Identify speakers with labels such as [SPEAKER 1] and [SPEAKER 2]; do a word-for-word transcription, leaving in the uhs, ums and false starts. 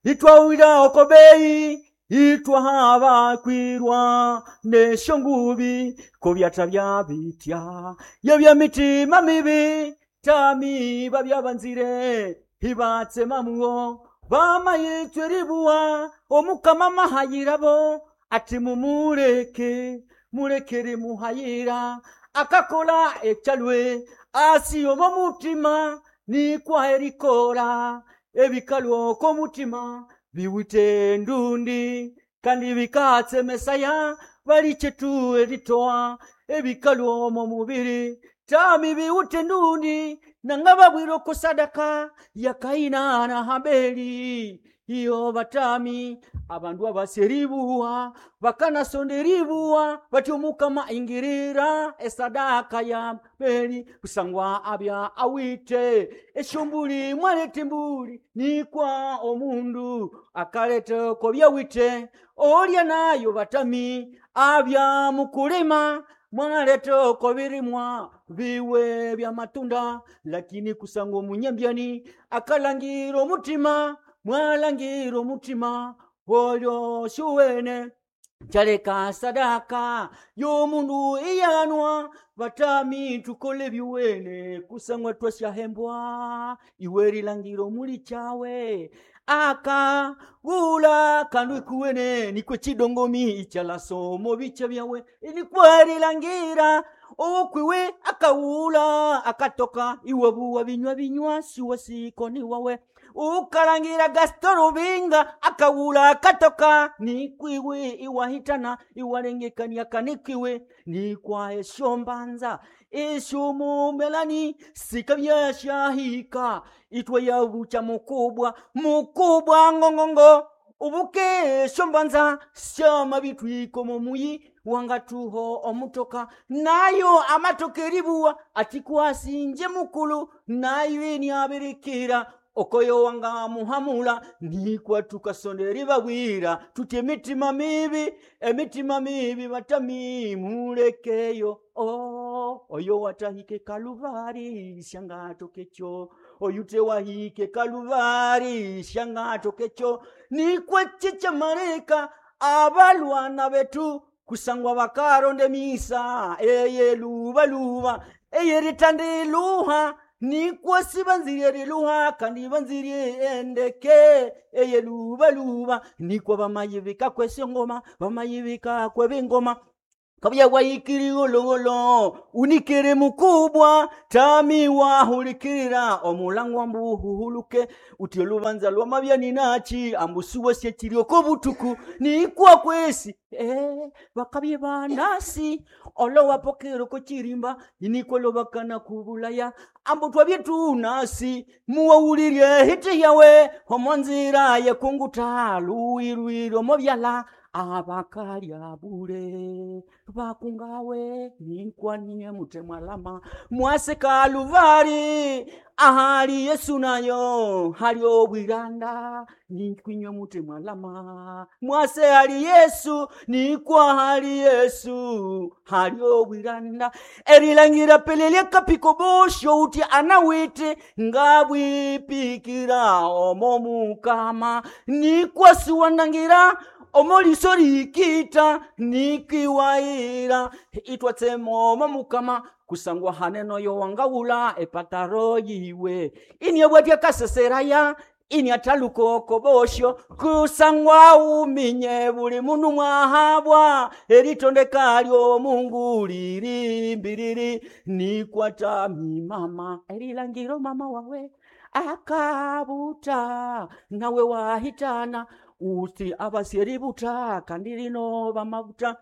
[SPEAKER 1] Itwawira okobei itwahabakwirwa nesyongubi kobyatha byabitya yabya mitima mibi tami babya banzire ibatsema mugho bamayitswa eribugha omukama amahayirabo athi mumuleke muleke erimuhayira akakola ekyalwe asi omo mutima nikwa erikola ebikalwa oko mutima biwite endundi kandi bikatsemesaya balikyetu eritoa ebikalwa omo mubiri tami biwite endundi nanga babwire oko sadaka ya Kaina na Habeli iyo batami abandu abasi eribuwa bakanasonda eribuwa bati omukama ingirira esadaka ya Abeli kusangwa abya awite esyombuli mwaleta embuli nikwa omundu akaleta oko byawite olya nayo batami abya mukulima mwaleta oko birimwa biwe byamatunda lakini kusangwa omunyambyani akalangira omutima mwalangira omutima olyo syuwene kyaleka sadaka y'omundu iyanwa batami tukole byuwene kusangwa twasyahembwa iwe rilangira omuli kyawe akagula kandu ikuwene nikwe chidongomi ikyalasomo bicha byawe inikwa rilangira owokwiwe akawula akatoka iwabuwa binywa binywa siwa sikoni wawe ukalangira Gaston Rubinga akawula akatoka nikwiwe iwahitana iwalengekania kanikwiwe nikwa esyombanza esyomumelani sikabyashahika itwe yabucha mukubwa mukubwa ngongongo ubuke esyombanza syamabitwiko momuyi wangatuho omutoka nayo amatoka eribuwa atikwasi nje mukulu nayo iniabirikira okoyo wanga muhamula nikwa tukasonda eribabwira tuti emitima mibi emitima mibi batami mulekeyo oh, oyo watahike kaluvari syangatokekyo oyu tewahike kaluvari syangatokekyo nikwa chichamarika abalwana betu kusangwa bakaronda emisa eyelubaluba eyeritandiluha nikwa sibanzirie riluha kandi banzirie endeke eyelubaluba nikwa bamayibika kwesyo bamayibika kwebingoma kabya wayikiri gologolo unikere mukubwa tami wahulikirira omulangwa mbuhuhuluke uti olubanza lwamabyani nachi ambusuwa syekiri oko butuku nikwa kwesi eh, bakabye banasi olo wapokera oko chirimba inikwa lobakana kubulaya ambu twabye tunasi muwawulirye hiti yawe omo nzira yekunguta luwirwire omo byala abakalya bule bakungawe nikwanie mutemwalama mwase kaluvari ahali yesu nayo hali obwiranda nikwinywe mutemwalama mwase hali yesu nikwa hali yesu hali obwiranda erilangira pelelya kapiko bosho uti anawite ngabwipikira omo mukama nikwa siwandangira omoliso likita nikiwaira itwatsema omo mukama kusangwa haneno yowangawula epataro yiwe iniabwatya kaseseraya iniatalukoko bosho kusangwa uminye buli mundu mwahabwa eritondeka lyomungu liri mbiriri nikwatami mama erilangiro mama wawe akabuta nawe wahitana uti abaseributa kandi lino bamabuta